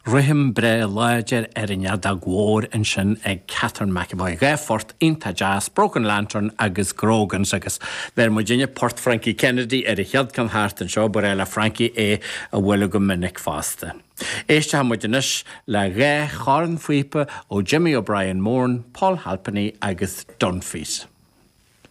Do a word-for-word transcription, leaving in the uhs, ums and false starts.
Rithim breá láidir ar an fheadóg mhór ansin ag Catherine McEvoy. Dhá phort iontach deas, Broken Lantern agus Grogans agus bheir muidinne port Frankie Kennedy ar a chéad ceann thart anseo ba le Frankie é a bhualadh go minic fosta. Éistfidh muid anois le dhá chornphíopa ó Jimmy O'Brien Moran, Paul Halpenny agus Dunphy's.